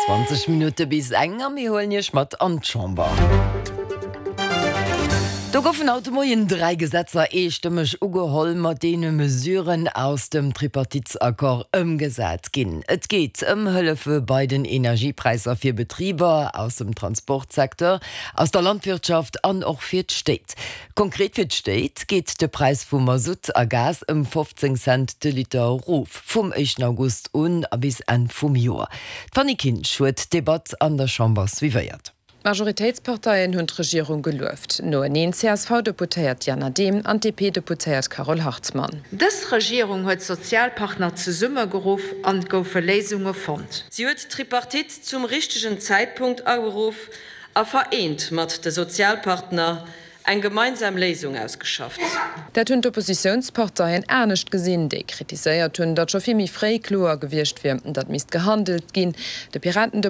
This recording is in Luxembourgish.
20 Minutte bis eng a mir huelen Iech mat an d'Chamber. Do goufen haut de Moien 3 Gesetzer eestëmmeg ugeholl, mat deene Mesuren aus dem Tripartitesaccord ëmgesat ginn. Et geet ëm Hëllefe bei den Energiepräisser fir Betriber aus dem Transportsecteur, aus der Landwirtschaft an och fir d'Stéit. Konkret fir d'Stéit geet de Präis vu Masutt a Gas ëm 15 Cent de Liter erof, vum éischten August un a bis Enn vum Joer. D'Fanny Kinsch huet d'Debatt an der Chamber suivéiert. D'Majoritéitsparteien hunn d'Regierung gelueft, noeneen d'CSV-Deputéiert Diana Dehm an d'DP-Deputéiert Carole Hartmann. Dës Regierung huet d'Sozialpartner zesummegeruff an et goufe Léisunge fonnt. Si huet d'Tripartite zum richtegen Zäitpunkt ageruff a vereent mat de Sozialpartner eng gemeinsam Léisung ausgeschafft. Dat hunn d'Oppositiounsparteien anescht gesinn, déi kritiséiert hunn, datt scho vill méi fréi kloer gewiescht wier, datt misst gehandelt ginn. De Piraten-.